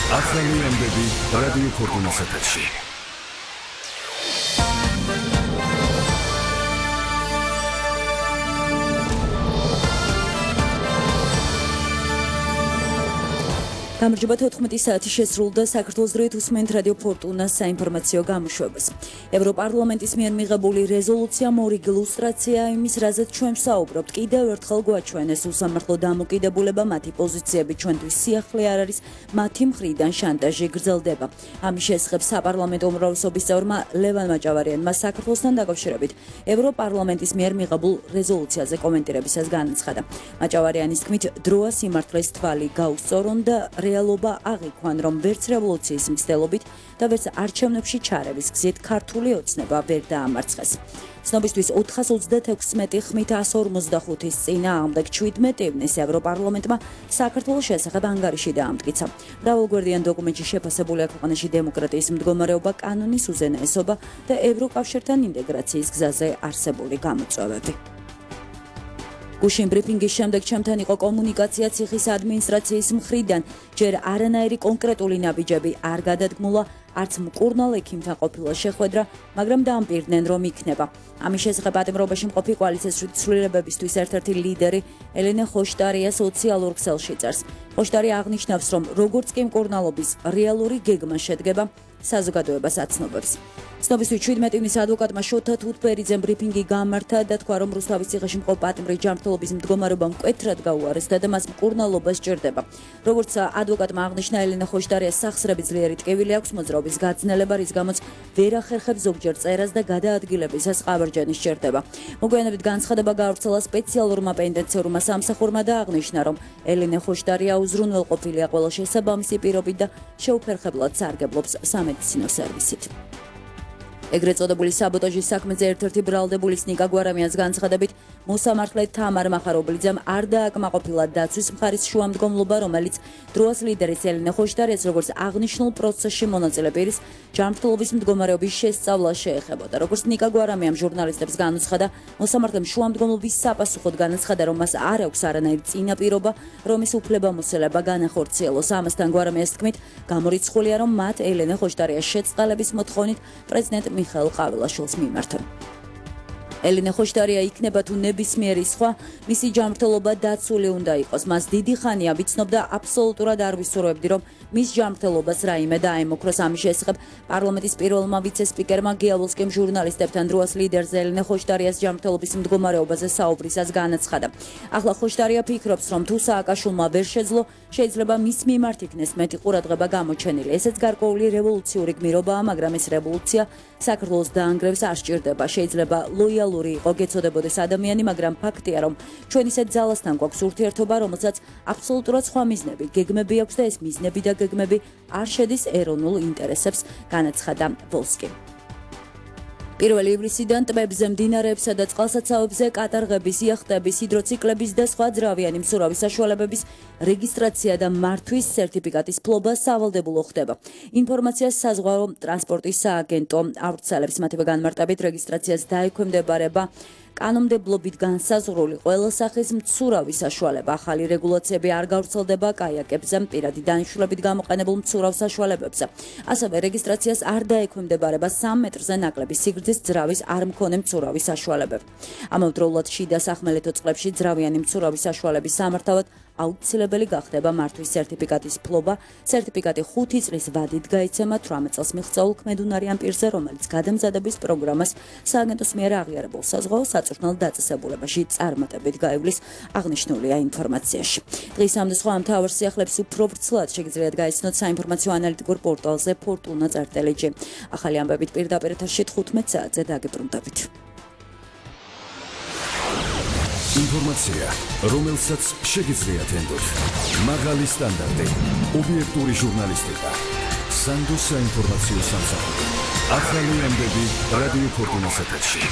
ახალი ამბები რადიო ფორტუნას ეთერში. გამარჯობა 14 საათი შესრულდა საქართველოს დროით უსმენთ რადიო ფორტუნას საინფორმაციო გამოშვებას. ევროპარლამენტის მიერ მიღებული რეზოლუცია მორიგ ილუსტრაცია იმის, რაზეც ჩვენ ვსაუბრობთ. კიდევ ერთხელ გვაჩვენეს უსამართლო დამოკიდებულება, მათი პოზიციები ჩვენთვის სიახლე არ არის, მათი მხრიდან შანტაჟი გრძელდება. ამის შესახებ საპარლამენტო უმრავლესობის წევრმა ლევან მაჭავარიანმა საქართველოსთან დაკავშირებით ევროპარლამენტის მიერ მიღებულ რეზოლუციაზე კომენტირებისას განაცხადა. მაჭავარიანის თქმით, დროა სიმართლეს თვალი გაუსწორონ და რეალობა აღიქვან, რომ ვერც რევოლუციის მცდელობით და ვერც არჩევნებში ჩარევის გზით ქართული ოცნება ვერ დაამარცხეს. ცნობისთვის 436 ხმით 145-ის წინააღმდეგ 17 ივნისს ევროპარლამენტმა საქართველოს შესახებ ანგარიში დაამტკიცა. მრავალგვერდიან დოკუმენტში შეფასებულია ქვეყანაში დემოკრატიის მდგომარეობა, კანონის უზენაესობა და ევროკავშირთან ინტეგრაციის გზაზე არსებული გამოწვევები. გუშინ ბრიფინგის შემდეგ ჩემთან იყო კომუნიკაცია ციხის ადმინისტრაციის მხრიდან, ჯერ არანაირი კონკრეტული ნაბიჯები არ გადადგმულა, არც მკურნალ ექიმთან ყოფილა შეხვედრა, მაგრამ დაამპირდნენ, რომ იქნება. ამის შესახებ პატიმრობაში მყოფი კოალიციის ცვლილებებისთვის ერთ-ერთი ლიდერი ელენე ხოშტარია სოციალურ ქსელში წერს. ხოშტარია აღნიშნავს, რომ როგორც კი მკურნალობის რეალური გეგმა შედგება, საზოგადოებას აცნობებს. ცნობისთვის 17 ივნისს ადვოკატმა შოთა თუთბერიძემ ბრიფინგი გამართა და თქვა, რომ რუსთავის ციხეში მყოფ პატიმრის ჯანმრთელობის მდგომარეობა მკვეთრად გაუარესდა და მას მკურნალობა სჭირდება. როგორც ადვოკატმა აღნიშნა, ელენე ხოშტარიას სახსრები ძლიერი ტკივილი აქვს, მოძრაობის გაძნელება, რის გამოც ვერ ახერხებს ზოგჯერ წერას და გადაადგილებისას ყავარჯანი სჭირდება. მოგვიანებით განცხადება გაავრცელა სპეციალურმა პენიტენციურმა სამსახურმა და აღნიშნა, რომ ელენე ხოშტარია უზრუნველყოფილია ყველა შესაბამისი პირობით და შეუფერხებლად სარგებლობს სამედიცინო სერვისით. ეგრეთ წოდებული საბოტაჟის საქმეზე ერთ-ერთი ბრალდებულის ნიკა გვარამიანს განცხადებით, მოსამართლე თამარ მახარობლიძემ არ დააკმაყოფილა დაცვის მხარის შუამდგომლობა, რომელიც დროას ლიდერის ელენე ხოშტარიას როგორც აღნიშნულ პროცესში მონაწილე პირის ჯანმრთელობის მდგომარეობის შესწავლა შეეხებოდა. როგორც ნიკა გვარამიამ ჟურნალისტებს განუცხადა, მოსამართლემ შუამდგომლობის საპასუხოდ განაცხადა, რომ მას არ აქვს არანაირი წინაპირობა, რომ ის უფლებამოსილება განახორციელოს. ამასთან გვარამიას თქმით, გამორიცხულია, რომ მათ ელენე ხოშტარიას შეწყალების მოთხოვნით პრეზიდენტ მიხაილ ყავილაშვილს მიმართა. ელენე ხოშტარია იქნება თუ ნებისმიერი სხვა, მისი ჯანმრთელობა დაცული უნდა იყოს. მას დიდი ხანია ვიცნობდა, აბსოლუტურად არ ვისურვებდი, რომ მის ჯანმრთელობას რაიმე დაემოქროს. ამის შესახებ პარლამენტის პირველმა ვიცე-სპიკერმა გიალოვსკიმ ჟურნალისტებთან დროას ლიდერს ელენე ხოშტარიას ჯანმრთელობის მდგომარეობაზე საუბრისას განაცხადა. ახლა ხოშტარია ფიქრობს, რომ თუ სააკაშვილმა ვერ შეძლო, შეიძლება მის მიმართ იქნეს მეტი ყურადღება გამოჩენილი. ესეც გარკვეული რევოლუციური გმირობაა, მაგრამ ეს რევოლუცია საქართველოს დაანგრევს არ სჭირდება. შეიძლება ლოიალური იყო გეცოდებოდეს ადამიანი, მაგრამ ფაქტია, რომ ჩვენ ისეთ ძალასთან გვაქვს ურთიერთობა, რომელსაც აბსოლუტურად სხვა მიზნები, გეგმები აქვს და ეს მიზნები და გეგმები არ შედის ეროვნულ ინტერესებს, განაცხადა ვოლსკი. 1 ივლისიდან ტბებზე, მდინარეებსა და წყალსაცავებზე კატარღების, იახტების, ჰიდროციკლების და სხვა ძრავიანი მსურავი საშუალებების რეგისტრაცია და მართვის სერტიფიკატის ფლობა სავალდებულო ხდება. ინფორმაციას საზღვაო ტრანსპორტის სააგენტო ავრცელებს, მათივე განმარტებით რეგისტრაციას დაექვემდებარება კანონმდებლობით განსაზღვრული ყველა სახის მცურავი საშუალება. ახალი რეგულაციები არ გავრცელდება კაიაკებზე, პირადი დანიშნულებით გამოყენებულ მცურავ საშუალებებზე. ასევე რეგისტრაციას არ დაექვემდებარება 3 მეტრზე ნაკლები სიგრძის ძრავის არ მქონე მცურავი საშუალებები. ამავდროულად შიდა სახმელეთო წყლებში ძრავიანი მცურავი საშუალების სამართავად აუცილებელი გახდება მართვის სერტიფიკატის ფლობა. სერტიფიკატი 5 წლის ვადით გაიცემა 18 წელს მიღწეულ ქმედუნარიან პირზე, რომელიც გადამზადების პროგრამას სააგენტოს მიერ აღიარებულ საზღვაო საწვრთნელ დაწესებულებაში წარმატებით გაივლის, აღნიშნულია ინფორმაციაში. დღისამდე სხვა მთავარ სიახლეებს უფრო ვრცლად შეგიძლიათ გაიცნოთ საინფორმაციო ანალიტიკურ პორტალზე fortuna.lg. ახალი ამბებით პირდაპირ ეთერში 15 საათზე დაგიბრუნდებით. ინფორმაცია, რომელსაც შეგიძლიათ ენდოთ. მაღალი სტანდარტი, ობიექტური ჟურნალისტიკა, სანდო საინფორმაციო სამსახური. ახალი ამბები რადიო ფორტუნას ეთერში.